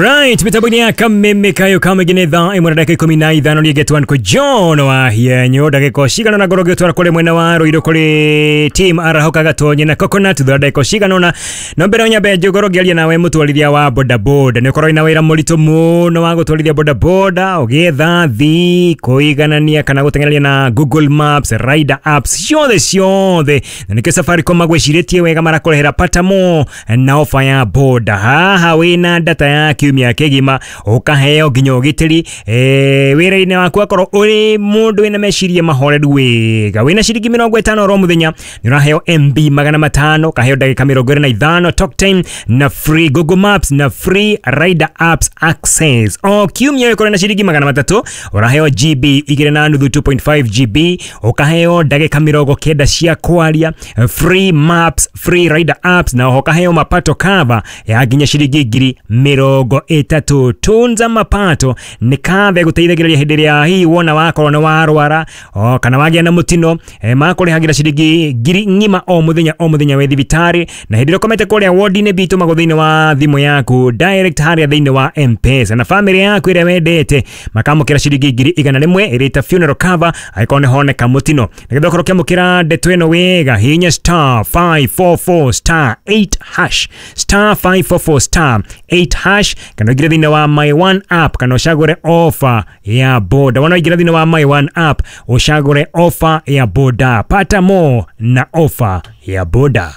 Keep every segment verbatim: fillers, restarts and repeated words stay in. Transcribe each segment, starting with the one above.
Alright, mitambo-inĩ ya Kameme kayo kamĩngĩ thaa ĩmwe na ndagĩka ikũmi na ithano. Niĩ ngetwo John wa Hienyo. Ndagĩka cigana na ngorwo ngĩtwara kũrĩ mwena wa Ruiru kũrĩ team Arahoka Gatonye na Coconut thutha ndagĩka cigana ũna. No mbere nyambe ngorwo ngĩaria nawe mũtwarithia wa bodaboda. Nĩ ũkorwo wĩna wĩra mũritũ mũno wa gũtwarithia bodaboda, ũgĩetha thi kũiganania kana gũteng'ereria na Google Maps, rider apps ciothe ciothe, na nĩkĩo Safaricom magwĩcirĩtie wega, marakũrehera pata mo na ofa ya boda. Haha wĩna data ya kiumia kĩgima, ũkaheo nginya ũgitĩri eh, wĩra-inĩ waku. Akorwo ũrĩ mũndũ wĩna meciria mahoreru wega, wĩna ciringi mĩrongo ĩtano oro mũthenya, nĩ ũraheo M B magana matano, ũkaheo ndagĩka mĩrongo ĩrĩ na ithano talk time na free Google Maps na free rider apps access. O kiumia ũkorwo na ciringi magana matatũ, ũraheo G B igĩrĩ na nuthu, two point five G B, ũkaheo ndagĩka mĩrongo kenda cia kwaria, free maps, free rider apps, na oho ũkaheo mapato cover ya nginya ciringi ngiri mĩrongo ĩtatũ. Tunza mapato nĩ cover ĩgũteithagĩrĩria hĩndĩ ĩrĩa hihi wona wakorwo nĩ warwara o kana wagĩa na mũtino, eh, makũrĩhagĩra ciringi ngiri ng'ima o mũthenya o mũthenya wĩ thibitarĩ, na hĩndĩ ĩrĩa ũkomete kũrĩa wodi-inĩ bitũmagwo thĩinĩ wa thimũ yaku direct harĩa thĩinĩ wa M-Pesa, na famĩlĩ yaku ĩrĩa wendete makamũkĩra ciringi ngiri igana rĩmwe ĩrĩ ta funeral cover angĩkorwo nĩ honeka mũtino. Nĩgetha ũkorwo ũkĩamũkĩra ndeto ĩno wega, hihinya star five four four star eight hash, star five four four star eight hash, kana ũingĩre thĩinĩ wa My One app, kana ũcagũre offer ya boda. Wona waingĩra thĩinĩ wa My One app, ũcagũre offer ya boda, pata more na offer ya boda.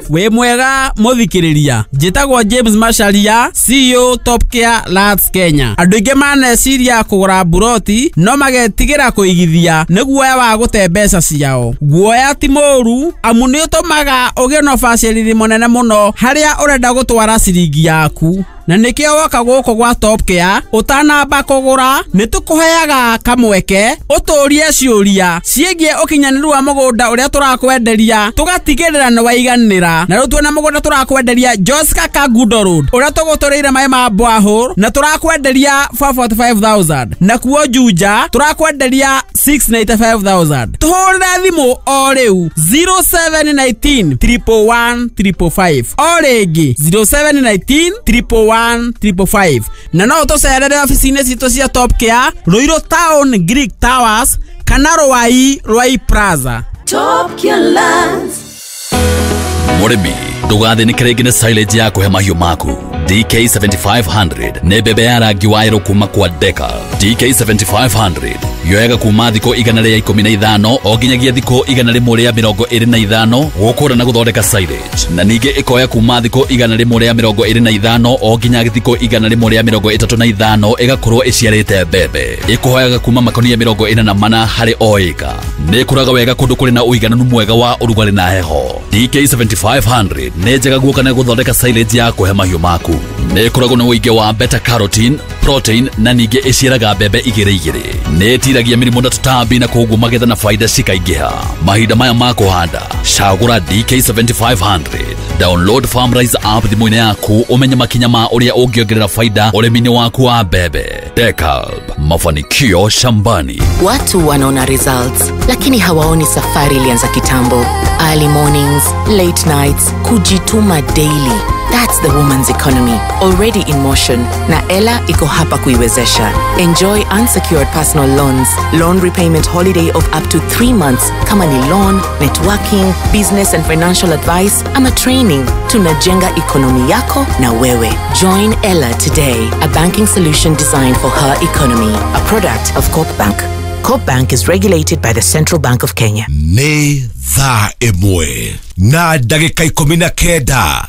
Wĩ mwega mũthikĩrĩria, njĩtagwo James Macharia, C E O Top Care Lands Kenya. Andũ aingĩ maneciria kũgũra mburoti no magetigĩra kũigithia nĩ guoya wa gũte mbeca ciao. Guoya ti mũũru, amu nĩ ũtũmaga ũgĩe na ũbacĩrĩri mũnene mũno harĩa ũrenda gũtwara ciringi yaku, na nĩkĩo woka gũkũ gwa Top Care, ũtanamba kũgũra nĩ tũkũheaga kamweke ũtũrie ciũria ciĩgiĩ ũkinyanĩru wa mũgũnda ũrĩa tũrakwenderia, tũgatigĩrĩra nĩ waiganĩra. Na rĩu tuona mũgũnda tũrakwenderia Joska Kangundo Road, ũrĩa tũgũtũrĩire maĩ ma borehole, na tũrakwenderia four hundred forty-five thousand, na kuo Juja tũrakwenderia six hundred ninety-five thousand. Tũhũrĩre thimũ o rĩu zero seven one nine triple one triple five, o rĩngĩ zero seven one nine triple one triple five, na no ũtũcerere obici-inĩ citũ cia Top Care, Ruiru Town, Greek Towers, kana Rwai, Rwai Plaza. Top Care Lands. Mũrĩmi, ndũgathĩnĩke rĩngĩ nĩ silage ya kũhe mahiũ maku. D K seven five zero zero nĩ mbembe ya rangi wa yerũ kuma kwa Deka. D K seven five zero zero yoyaga kuma thikũ igana rĩa ikũmi na ithano o nginyagia thikũ igana rĩmwe rĩa mĩrongo ĩrĩ na ithano gũkũra na gũthondeka silage, na ningĩ ĩkoya kuma thikũ igana rĩmwe rĩa mĩrongo ĩrĩ na ithano o nginya thikũ igana rĩmwe rĩa mĩrongo ĩtatũ na ithano ĩgakorwo ĩciarĩte mbembe. Ĩkũhoyaga kuma makonia mĩrongo ĩna na mana harĩ o ĩka. Nĩ ĩkũraga wega kũndũ kũrĩ na ũigananu mwega wa ũrugarĩ na heho. D K seven five zero zero nĩ njega guoka na gũthondeka silage ya kũhe mahiũ maku. Nĩ ĩkoragwo na ũingĩ wa beta carotene, protein, na ningĩ ĩciaraga mbembe igĩrĩ igĩrĩ. Nĩ ĩtiragia mĩrimũ na tũtambi, na koguo magetha na faida cikaingĩha. Mahinda maya ma kũhanda, cagũra D K seven five zero zero. Download Farmrise app thimũ-inĩ yaku ũmenye makinya ma ũrĩa ũngĩongerera faida ũrĩmi-inĩ waku wa mbembe. Decalb, mafanikio shambani. Watu wanaona results, lakini hawaoni safari ilianza kitambo. Early mornings, late nights, kujituma daily. That's the woman's economy already in motion, na Ela iko hapa kuiwezesha. Enjoy unsecured personal loans, loan repayment holiday of up to three months, kama ni loan, networking, business and financial advice ama training. Tunajenga economy yako na wewe. Join Ela today, a banking solution designed for her economy. A product of Corp Bank. Corp Bank is regulated by the Central Bank of Kenya. Nĩ thaa ĩmwe na ndagĩka ikũmi na kenda.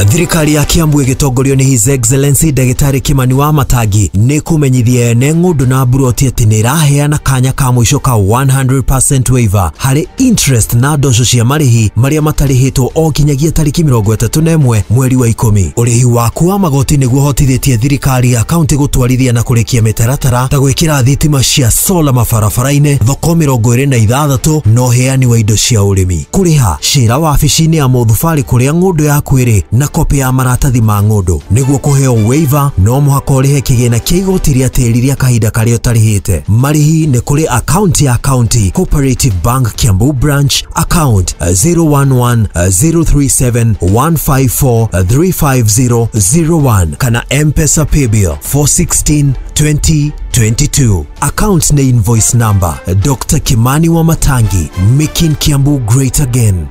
Thirikari ya Kiambu ĩgĩtongorio nĩ His Excellency Ndagĩtarĩ Kimani wa Matangi nĩ kũmenyithia ene ng'ũndũ na mburoti atĩ nĩ ĩraheana kanya ka mũico ka one hundred percent waiver harĩ interest na ndosho cia marĩhi marĩa matarĩhĩtwo o nginyagia tarĩki mĩrongo ĩtatũ na ĩmwe mweri wa ikũmi. Ũrĩhi waku wa magoti nĩguo ũhotithĩtie thirikari ya kaunti gũtwarithia na kũrĩkia mĩtaratara ta gwĩkĩra thitima cia sola mabarabara-inĩ, thoko mĩrongo ĩrĩ na ithathatũ, na ũheani wa indo cia ũrĩmi. Kũrĩha cĩra wabici-inĩ ya mũthubarĩ kũrĩa ng'ũndũ yaku ĩrĩ. na kopi ya maratathi ma ng'ũndũ. Nĩguo kũheo waiver no mũhaka ũrĩhe kĩgĩna kĩa igoti rĩa tĩri rĩa kahinda karĩa ũtarĩhĩte. Marĩhi nĩ kũrĩ akaunti ya County Cooperative Bank Kiambu Branch, account zero one one zero three seven one five four three five zero zero one kana M-Pesa Paybill four sixteen twenty twenty-two. Account na invoice number Doctor Kimani Wamatangi, making Kiambu great again.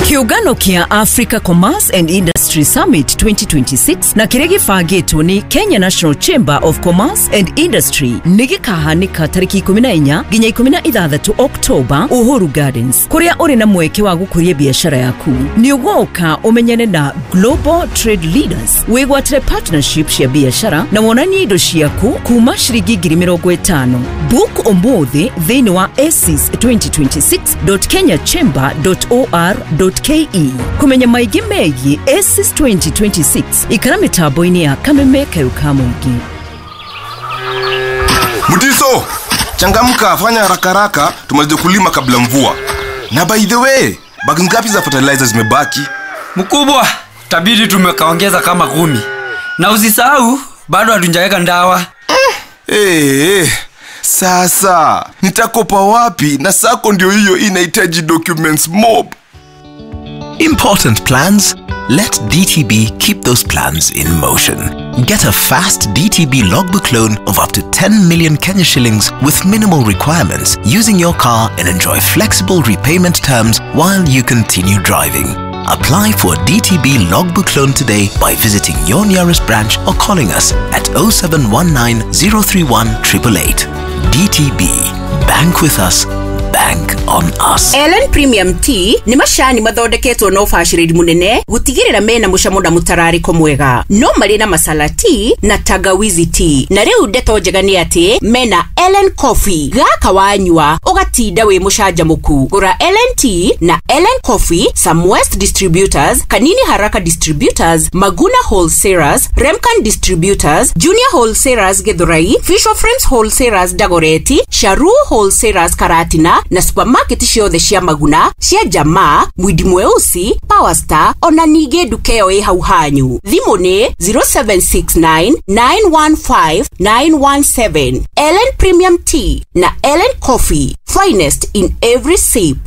Kiugano kia Africa Commerce and Industry Summit twenty twenty-six na kĩrĩa gĩbangĩtwo nĩ Kenya National Chamber of Commerce and Industry nĩ gĩkahanĩka tarĩki ikũmi na inya nginya ikũmi na ithathatũ Oktoba Uhuru Gardens, kũrĩa ũrĩ na mweke wa gũkũria biacara yaku. Nĩ ũgoka ũmenyane na Global Trade Leaders, wĩgwatĩre partnership cia biacara na wonanie indo ciaku kuma ciringi ngiri mĩrongo ĩtano. Book ũmũthĩ thĩinĩ wa asis twenty twenty-six dot kenya chamber dot or dot ke. Kumenya maingĩ megiĩ ACES twenty twenty-six ikara mĩtambo-inĩ ya Kameme Kayũ ka Mũingĩ. Mutiso, changamka, fanya haraka haraka tumalize kulima kabla mvua. Na by the way, bagi ngapi za fertilizer zimebaki? Mkubwa, tabidi tumekaongeza kama kumi. Na usisahau bado hatujaweka ndawa. Eh, eh, sasa nitakopa wapi na sako ndio hiyo inahitaji documents mob. Important plans? Let D T B keep those plans in motion. Get a fast D T B logbook loan of up to ten million Kenya shillings with minimal requirements using your car and enjoy flexible repayment terms while you continue driving. Apply for a D T B logbook loan today by visiting your nearest branch or calling us at oh seven one nine zero three one eight eight eight. D T B. Bank with us. Bank on us. Ellen Premium Tea ni macani mathondeketwo na ubacĩrĩri munene gutigirira mena mucamo na mutarariko mwega. No marĩ na masala tea na tangawizi tea. Na rĩu ndeto njega nĩ atĩ mena Ellen Coffee. Gaka wanyua ugatinda wĩ mũcanjamũku. Gũra Ellen Tea na Ellen Coffee, Samwest Distributors, Kanini Haraka Distributors, Maguna Wholesalers, Remcan Distributors, Junior Wholesalers Githurai, Fisher Frames Wholesalers Dagoretti, Sharu Wholesalers Karatina na supermarket ciothe cia Maguna, cia Jamaa, Mwindi Mweusi, Power Star, ona ningĩ nduka ĩyo ĩ hau hanyu. Thimũ nĩ zero seven six nine nine one five nine one seven. Ellen Premium Tea na Ellen Coffee, finest in every sip.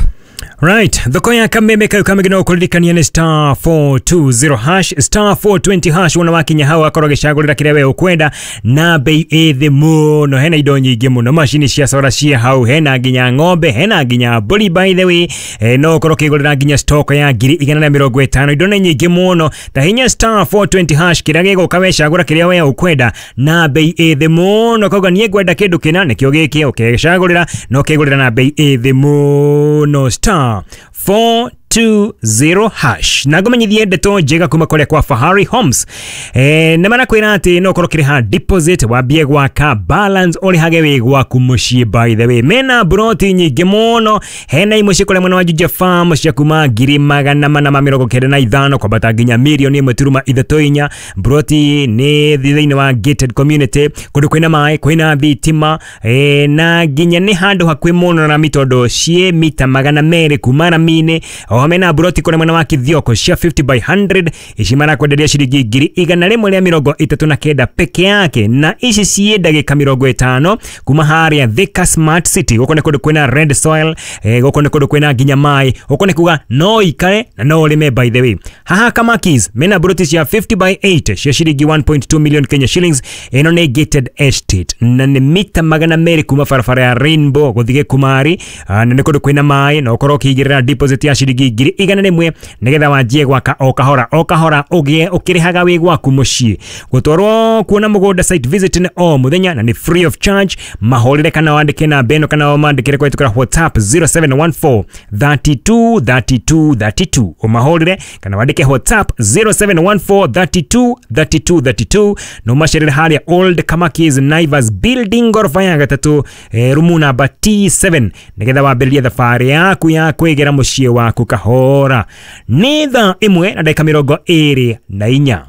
Right, thoko ya Kameme Kayũ ka Mũingĩ no kũririkania nĩ star four two zero hash, star four twenty hash. Wona wakinya hau akorwo gĩcagũrĩra kĩrĩa we ũkwenda na bei ĩ thĩ mũno. Hena indo nyingĩ mũno, macini cia solar cia hau, hena nginya ng'ombe, hena nginya mbũri by the way. E, no ũkorwo ũkĩgũrĩra nginya stock ya ngiri igana na mĩrongo ĩtano. Indo nĩ nyingĩ mũno, ta hinya star four twenty hash kĩrĩa gĩgũka wecagũra kĩrĩa we ũkwenda na bei ĩ thĩ mũno. Kauga niĩ ngwenda kĩndũ kĩna nĩkĩo gĩkĩ, ũkĩgĩcagũrĩra na ũkĩgũrĩra na bei ĩ thĩ mũno. Star four two zero hash. Na ngũmenyithie ndeto njega kuma kũrĩa kwa Fahari Homes. Eh, na marakwĩra atĩ no ũkorwo ũkĩrĩha deposit wambie gwaka balance ũrĩhage wĩ gwaku mũciĩ. By the way, mena broti nyingĩ mũno, hena imwe ciĩ kũrĩa mwena wa Juja Farm cia kuma ngiri magana mana ma mĩrongo kenda na ithano kwambata nginya mirioni ĩmwe turuma ithatũ inya. Broti nĩ thĩinĩ wa gated community, kũndũ kwĩna maĩ, kwĩna thitima, eh, na nginya nĩ handũ hakuhĩ mũno na mitondo ciĩ mita magana merĩ kuma rami-inĩ. O mena broti kũrĩa mwena wa Kithioko cia fifty by hundred, ici marakwenderia ciringi ngiri igana rĩmwe rĩa mĩrongo ĩtatũ na kenda peke yake, na ici ciĩ ndagĩka mĩrongo ĩtano kuma harĩa Thika Smart City. Gũkũ nĩ kũndũ kwĩna red soil, eh, gũkũ nĩ kũndũ kwĩna nginya maĩ, gũkũ nĩ kuga no ikare na no ũrĩme. By the way, haha Kamakis mena broti cia fifty by eight cia ciringi one point two million Kenya shillings. Ĩno nĩ gated estate na nĩ mita magana merĩ kuma barabara ya Rainbow gũthiĩ Gĩkumari, na nĩ kũndũ kwĩna maĩ, na ũkorwo ũkĩigĩrĩra deposit ya ciringi ngiri igana rĩmwe nĩgetha wanjie gwaka o kahora o kahora ũgĩe ũkĩrĩhaga wĩ gwaku mũciĩ. Gũtwarwo kuona mũgũnda site visit nĩ o mũthenya na nĩ free of charge. Mahũrĩre kana wandĩke namba ĩno kana ũmandĩkĩre kũhĩtũkĩra WhatsApp zero seven one four thirty two thirty two thirty two. Ũmahũrĩre kana wandĩke WhatsApp zero seven one four thirty two thirty two thirty two na ũmacerere harĩa Old Kamakis Naivas Building goroba ya gatatũ, eh, rumu namba T seven nĩgetha wambĩrĩrie thabarĩ yaku ya kwĩgĩra mũciĩ waku kahora. Nĩ thaa ĩmwe na ndagĩka mĩrongo ĩrĩ na inya.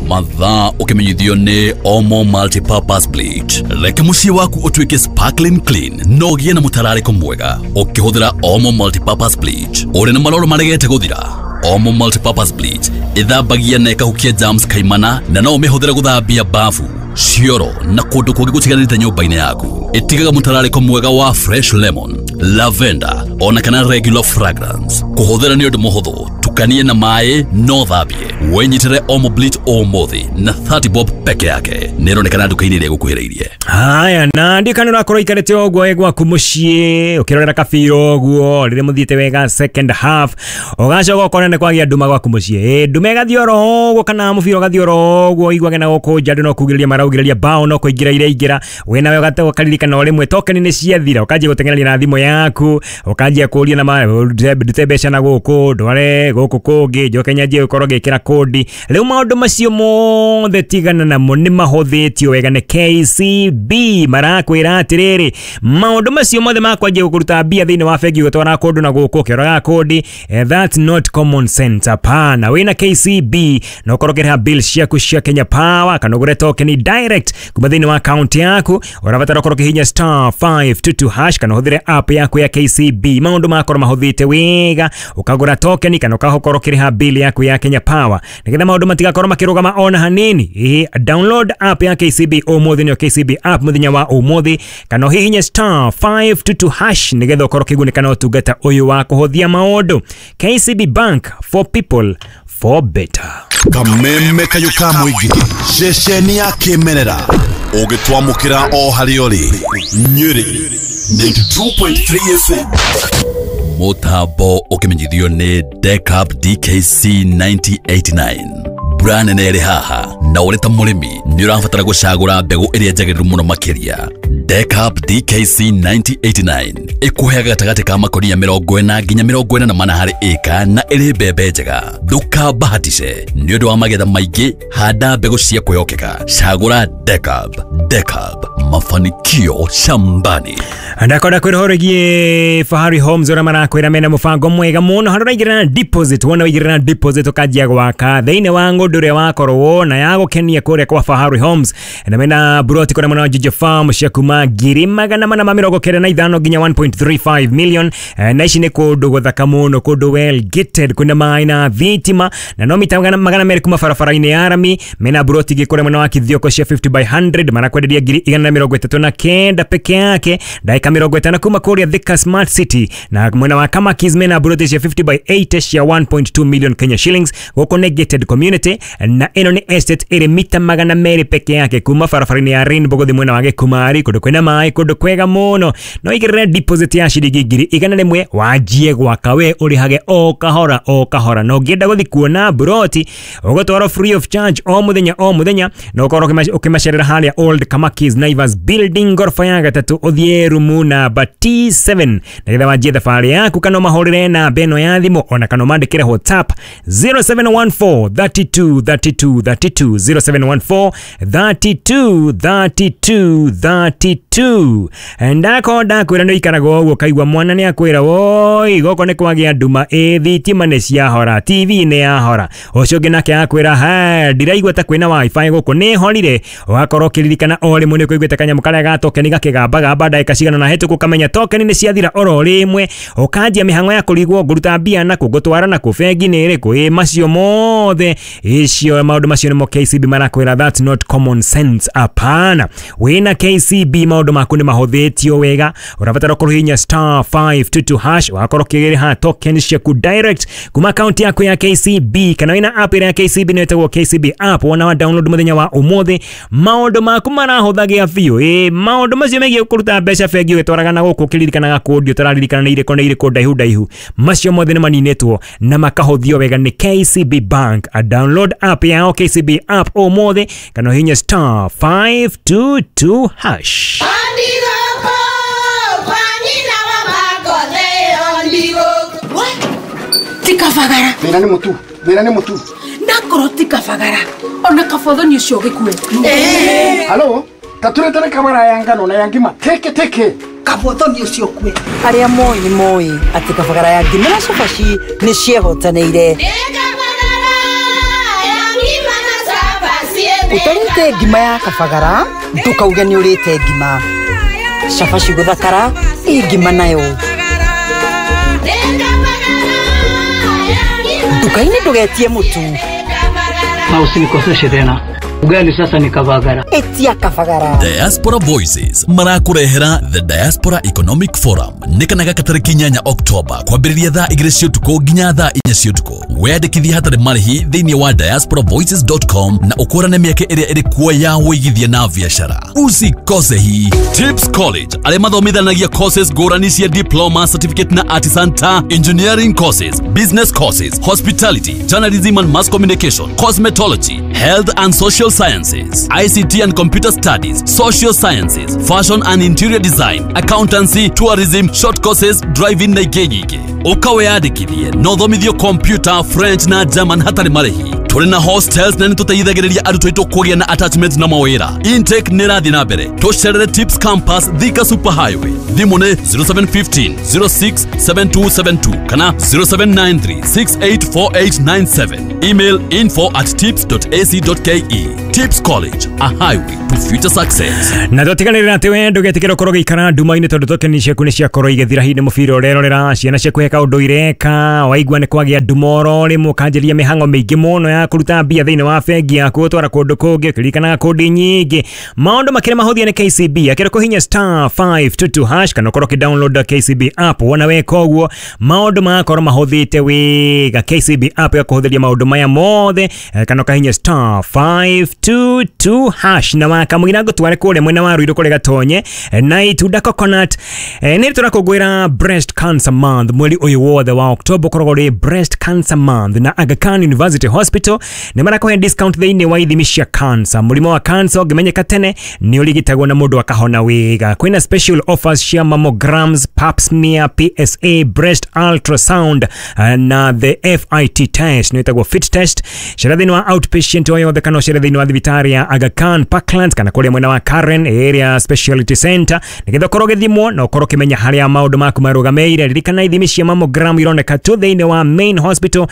Mathaa ũkĩmenyithio nĩ Omo Multipurpose Bleach. Reke mũciĩ waku ũtuĩke sparkling clean no ũgĩe na mũtararĩko mwega ũkĩhũthĩra Omo Multipurpose Bleach. Ũrĩ na maroro maregete gũthira? Omo Multipurpose Bleach ĩthambagia na ĩkahukia germs kaimana na no ũmĩhũthĩre gũthambia bafu, cioro na kũndũ kũngĩ gũtiganĩte nyũmba-inĩ yaku. Ĩtigaga mũtararĩko mwega wa fresh lemon, lavender ona kana regular fragrance. Kũhũthĩra nĩ ũndũ mũhũthũ, tukanie na maĩ no thambie. Wĩnyitĩre Omo Bleach ũmũthĩ na thirty bob peke yake. Nĩĩronekana nduka-inĩ ĩrĩa ĩgũkuhĩrĩirie. Haya, na ndikana ũrakorwo ikarĩte ũguo wĩ gwaku mũciĩ ũkĩrorera kabira ũguo rĩrĩa mũthiĩte wega second half, ũgacoka ũkona nĩ kwagĩa nduma gwaku mũciĩ. Ĩ nduma ĩgathiĩ oro ũguo kana mũbira ũgathiĩ oro ũguo ũiguage na gũkũ nja andũ no kugĩrĩria maraugĩrĩria bao no kũingĩra iraingĩra, we nawe ũgaririkana o rĩmwe token nĩ ciathira, ũkanjia gũteng'eria na thimũ yaku, ũkanjia kũria na ma ndute mbeca na gũkũ ndware gũkũ kũngĩ njoke nyanjie gũkorwo ngĩkĩra kodi. Rĩu maũndũ macio mothe tigana namo nĩ mahũthĩtio wega nĩ K C B. Marakwĩra atĩrĩrĩ, maũndũ macio mothe makwanjia gũkũruta mbia thĩinĩ wa bengi ũgĩtwara kũndũ na gũkũ ũkĩroraga kodi, that's not common sense. Hapana, wĩna K C B no ũkorwo ũkĩrĩha bill ciaku cia Kenya Power kana ũgũre token direct kuma thĩinĩ wa account yaku. Ũrabatara ũkorwo ũkĩhihinya star five two two hash kana ũhũthĩre app yaku ya K C B. Maũndũ makorwo mahũthĩte wega, ũkagũra token kana ũgakorwo ũkĩrĩha bill yaku ya Kenya Power nĩgetha maũndũ matigakorwo makĩrũgama ona hanini. Ĩĩ, download app ya K C B ũmũthĩ, nĩyo K C B app mũthenya wa ũmũthĩ, kana ũhihinye star five two two hash nĩgetha ũkorwo ũkĩgunĩka na ũtungata ũyũ wa kũhũthia maũndũ. K C B Bank, for people for better. Kameme kayũ ka mũingĩ, ceceni ya kĩmerera ũgĩtwamũkĩra o harĩa ũrĩ. Nyĩrĩ ninety-two point three F M. Mũtambo ũkĩmenyithio nĩ Decap D K C ninety eighty-nine. Mbura nene ĩrĩ haha na ũrĩ ta mũrĩmi nĩ ũrabatara gũcagũra mbegũ ĩrĩa njagĩrĩru mũno makĩria. Decap D K C ninety eighty-nine ĩkũheaga gatagatĩ ka makonia mĩrongo ĩna nginya mĩrongo ĩna na mana harĩ ĩka na ĩrĩ mbembe njega. Ndũkabahatishe nĩ ũndũ wa magetha maingĩ, handa mbegũ cia kwĩhokeka. Cagũra Decap. Decap, mafanikio shambani. Ndakwenda kwĩrohoregie Fahari Homes ũrĩa marakwĩra mena mũbango mwega mũno harĩa ũraigĩrĩra na deposit. Wona waigĩrĩra na deposit ũkanjia gwaka thĩinĩ wa ng'ũndũ ũrĩa wakorwo na ya gũkenia kũrĩa kwa Fahari Homes, na mena buroti kũrĩa mwena wa Juja Farm cia kuma ngiri magana mana ma mĩrongo kenda na ithano nginya one point three five million. Na ici nĩ kũndũ gũthaka mũno, kũndũ well gated, kwĩna maĩ na thitima na no mita magana merĩ kuma barabara-inĩ ya rami. Mena buroti ingĩ kũrĩa mwena wa Kithioko cia fifty by hundred marakwenderia ngiri igana na mĩrongo ĩtatũ na kenda peke yake, ndagĩka mĩrongo ĩtano kuma kũrĩa Thika Smart City. Na mwena wa Kamakis mena buroti cia fifty by eighty cia one point two million Kenya shillings. Gũkũ nĩ gated community na ĩno nĩ estate ĩrĩ mita magana merĩ peke yake kuma barabara-inĩ ya Rainbow gũthiĩ mwena wa Gĩkumari, kũndũ kwĩna maĩ, kũndũ kwega mũno. No igĩrĩre deposit ya ciringi ngiri igana rĩmwe wanjie gwaka we ũrĩhage o kahora o kahora. Na ũngĩenda gũthiĩ kuona buroti ũgũtwarwo free of charge o mũthenya o mũthenya, na ũkorwo ũkĩmacerera harĩa Old Kamakis Naivas Building ngoroba ya gatatũ ũthiĩ rumu namba T seven nĩgetha wanjie thabarĩ yaku, kana ũmahũrĩre namba ĩno ya thimũ ona kana ũmandĩkĩre WhatsApp zero seven one four thirty-two thirty-two thirty-two zero seven one four thirty-two thirty-two thirty-two. Ndako ndakwĩra nĩ ũikaraga ũguo kaigua mwana nĩ akwĩra woi gũkũ nĩ kwagĩa nduma, ĩ thitima nĩ ciahora, T V nĩ yahora. Ũcio ũngĩ nake akwĩra ha ndiraigua ta kwĩna wifi gũkũ nĩ horire. Ũgakorwo ũkĩririkana o rĩmwe nĩ ũkũiguĩte kanyamũ karĩa ga token gakĩgambagamba ndagĩka cigana na hĩtũku ũkamenya token nĩ ciathira oro rĩmwe, ũkanjia mĩhang'o ya kũrigwo ngũruta mbia nakũ ngũtwara nakũ bengi nĩ ĩrĩkũ. Ĩ macio mothe icio maũndũ macio nĩmo K C B marakwĩra that's not common sense. Hapana, wĩna K C B maũndũ maku nĩ mahũthĩtio wega. Ũrabatara kũhihinya star five two two hash wakorwo ũkĩrĩha token ciaku direct kuma account yaku ya K C B, kana wĩna app ĩrĩa ya K C B nĩyo ĩtagwo K C B app. Wona wa download mũthenya wa ũmũthĩ maũndũ maku marahũthagĩa biũ. Ĩ maũndũ macio megiĩ kũruta mbeca bengi ũgĩtwaraga na gũkũ ũkĩririkanaga kũndi ũtararirikana nĩ irĩkũ nĩ irĩkũ ndaihu ndaihu, macio mothe nĩ maninĩtwo na makahũthio wega nĩ K C B Bank. A download app yao K C B app ũmũthĩ kana ũhihinye star five two two hash. Tikabagara. Thĩna nĩ mũtu, thĩna nĩ mũtu. Ndakorwo tikabagara. Ona kabothoni ũcio ũgĩkue. Halo, taturetere kabara ya ngano na ya ngima. Teke teke. Kabothoni ũcio ũkue. Arĩa moĩ nĩ moĩ atĩ kabagara ya ngima na cabaci nĩ ciehotanĩire. Kabagara ya ngima na cabaci. Utarĩte ngima ya kabagara ndũkauge nĩ ũrĩte ngima. Cabaci gũthakara ĩ ngima nayo. Nduka-inĩ ndũgetie mũtu. Na usinikoseshe tena. Ugali sasa ni kabagara. Etia kabagara. Diaspora Voices marakurehera The Diaspora Economic Forum nikanaga katariki inyanya Oktoba kwambĩrĩria thaa igĩrĩ cia ũtukũ nginya thaa inya cia ũtukũ. Weyandĩkithie hatarĩ marĩhi thĩinĩ wa diaspora voices dot com na ũkũrane mĩeke ĩrĩa ĩrĩ kuo ya wĩigithia na biacara. Usikose hii. Tips College arĩa mathomithanagia courses ngũrani cia diploma, certificate na artisan ta engineering courses, business courses, hospitality, journalism and mass communication, cosmetology, health and social sciences, I C T and computer studies, social sciences, fashion and interior design, accountancy, tourism, short courses, driving na ingĩ nyingĩ. Ũka wĩyandĩkithie na ũthomithio computer, French na German hatarĩ marĩhi. Tũrĩ na hostels na nĩtũteithagĩrĩria arutwo aitũ kũgĩa na attachment na mawĩra. Intake nĩ ĩrathiĩ na mbere. Tũcerere Tips Campus, Thika Super Highway. Thimũ nĩ zero seven one five zero six seven two seven two kana zero seven nine three six eight four eight nine seven. Email info at tips dot a c dot k e. Tips College, a highway to future success. Na tũtiganĩrĩra atĩ we ndũgetĩkĩra ũkorwo ũgĩikara nduma-inĩ tondũ tokeni ciaku nĩ ciakorwo igĩthira hihi nĩ mũbira ũrerorera ciana ciaku he kaũndũ ireka waigua nĩ kwagĩa nduma oro rĩmwe ũkanjĩria mĩhang'o mĩingĩ mũno ya kũruta mbia thĩinĩ wa bengi yaku ũtwara kũndũ kũngĩ ũkĩririkanaga kũndĩ nyingĩ. Maũndũ makĩrĩ mahũthie nĩ K C B akĩrĩ kũhinya star five two two hash kana ũkorwo ũkĩ-download K C B app wona weka ũguo maũndũ magakorwo mahũthĩte wega. K C B app ĩgakũhũthĩria maũndũ maya mothe kana ũkahinya star five two two hash na wakamũira ngũtware kũrĩa mwena wa Ruiru kũrĩa Gatonye na itunda coconut. Nĩ tũrakũngũĩra Breast Cancer Month mweri ũyũ wothe wa October ũkoragwo ũrĩ Breast Cancer Month na Aga Khan University Hospital nĩ marakũhe discount thĩinĩ wa ithimi cia cancer. Mũrimũ wa cancer ũngĩmenyeka tene nĩ ũrigitagwo na mũndũ akahona wega. Kwĩna special offers cia mammograms, pap smear, P S A, breast ultrasound na the F I T test nĩ ĩtagwo fit test. Cera thĩinĩ wa outpatient o yothe kana ũcere thĩinĩ wa thibitarĩ ya Aga Khan Parklands kana kũrĩa mwena wa Karen Area Speciality Center nĩgetha ũkorwo ũgĩthimwo na ũkorwo ũkĩmenya harĩa maũndũ maku marũgamĩire. Ririkana ithimi cia mammogram ironeka tu thĩinĩ wa main hospital, uh,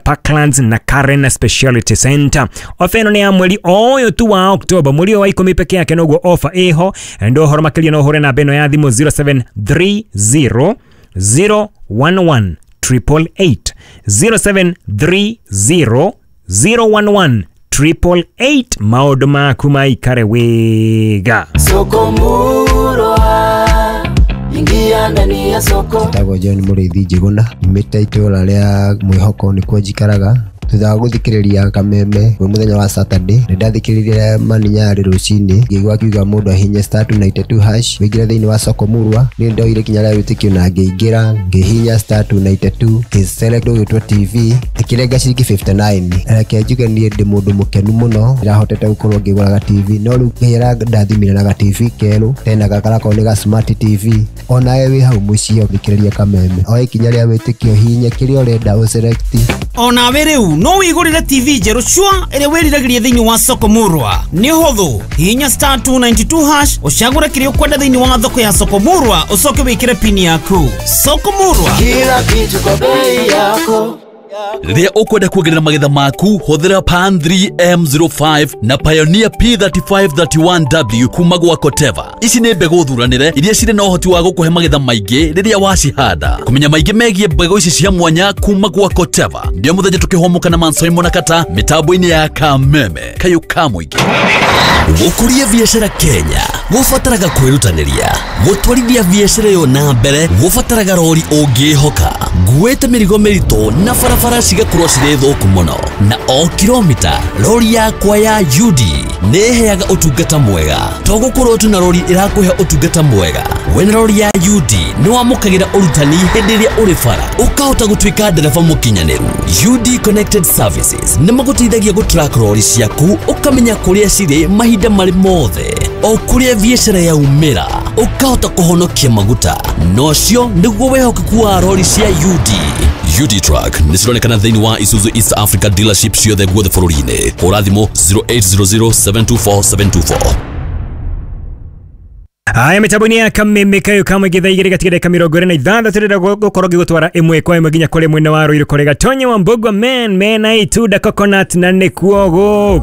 Parklands na Karen Speciality Center. Ofa ĩno nĩ ya mweri ũyũ tu wa Oktoba, mweri wa ikũmi peke yake noguo ofa ĩho. Ndo ũhoro makĩria no ũhũre namba ĩno ya thimũ zero seven three zero zero one one triple eight zero seven three zero zero one one triple eight. Maũndũ maku maikare wega. Soko Murwa, ingia ndani ya soko. Njĩtagwo John Mũrĩithi Njĩgũna, nyumĩte itũũra rĩa Mwĩhoko nĩkuo njikaraga. Thutha wa gũthikĩrĩria Kameme kwĩ mũthenya wa Saturday, nĩ ndathikĩrĩirie Mani Nyarĩ rũcinĩ, ngĩigua akiuga mũndũ ahinye star two ninety two hash wĩingĩre thĩinĩ wa soko Murwa. Niĩ ndoire ikinya rĩa wĩtĩkio na ngĩingĩra, ngĩhihinya star two ninety two, ngĩ-select ũgĩtwo T V, ĩkĩrenga ciringi fifty nine. Reke njuge niĩ ndĩ mũndũ mũkenu mũno, ndĩrahotete gũkorwo ngĩgũra ga T V, no rĩu Ngai arandathimire na ga T V kerũ, tena gaka garakorwo nĩ ga smart T V. Onawe wĩ hau mũciĩ ũthikĩrĩrie Kameme, oe ikinya rĩa wĩtĩkio, hihinya kĩrĩa ũrenda ũselect. Onawe rĩu no wĩgũrĩre T V njerũ cua ĩrĩa wĩriragĩria thĩinĩ wa soko Murwa. Nĩ ũhũthũ, hihinya star two ninety two hash ũcagũre kĩrĩa ũkwenda thĩinĩ wa thoko ya soko Murwa ũcoke wĩkĩre pini yaku. Soko Murwa, kila kitu kwa bei yako. Rĩrĩa ũkwenda kuongerera magetha maku hũthĩra Pan three M zero five na Pioneer P thirty five thirty one W kuma gwa Koteva. Ici nĩ mbegũ thuranĩre iria cirĩ na ũhoti wa gũkũhe magetha maingĩ rĩrĩa wacihanda. Kũmenya maingĩ megiĩ mbegũ ici cia mwanya kuma gwa Koteva ndio mũthenya tũkĩhũmũka na Mansoimo na Kata mĩtambo-inĩ ya Kameme kayũ ka mũingĩ. Gũkũria biacara Kenya gũbataraga kwĩrutanĩria, gũtwarithia biacara ĩyo na mbere gũbataraga rori ũngĩhoka. Nguĩte mĩrigo mĩritũ na barabara cigakorwo cirĩ thũku mũno, na o kilomita rori yakwa ya U D nĩ ĩheaga ũtungata mwega. To gũkorwo tu na rori ĩrakũhe ũtungata mwega, wena rori ya U D nĩ wamũkagĩra ũrutani hĩndĩ ĩrĩa ũrĩ bara, ũkahota gũtuĩka ndereba mũkinyanĩru. U D Connected Services nĩ magũteithagia gũtrack rori ciaku, ũkamenya kũrĩa cirĩ mahinda marĩ mothe, o kũrĩa biacara yaumĩra ũkahota kũhonokia maguta. Nocio nĩguo wĩhokeku wa rori cia U D. U D Truck nĩ cironekana thĩinĩ wa Isuzu East Africa dealership ciothe guothe bũrũri-inĩ. Hũra thimũ zero eight zero zero seven two four seven two four. Aya mitambo-inĩ ya Kameme kayo kamwe githaa igĩrĩ gatiga dakika mĩrongo ĩrĩ na ithathatũ rĩrĩa gũkorwo ngĩgũtwara ĩmwe kwa ĩmwe nginya kũrĩ mwena wa Ruiru kũrĩ Gatonye wa Mbugua men mena itunda coconut na nĩkuo gũkũ.